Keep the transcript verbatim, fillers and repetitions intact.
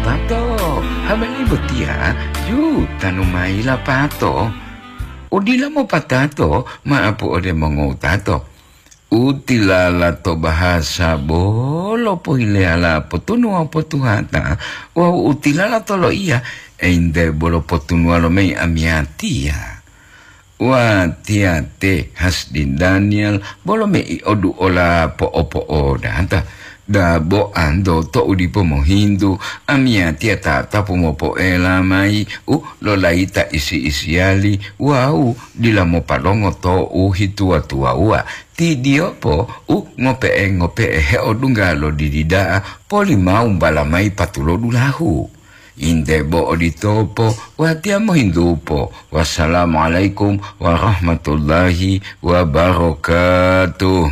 Pato, hameli botiya, yu tanu mayi la pato. Udila mopatato, maapu ode mongowutato. Utilala to bahasa bolo pohileyala potunuwa potuhata, wawu utilala to loiya, ente bolo potunuwa lo mayi amiyatiya. Watiya te Hasdi Daniel bolo mei oduola po'opo'odata. Dabo anto to'u dipo mohintu, amiyatiya tatapu mopoela mayi u lolayita isi-isiyali wawu dila mopalongo to'u hituwa-tuwawuwa. Tidiyopo u ngope'e-ngope'e heodungga lo didi da'a, polimawumbala mayi patulodulahu. Inde bo oditopo, watiya mohintupo. Wassalamualaikum warahmatullahi wabarakatuh.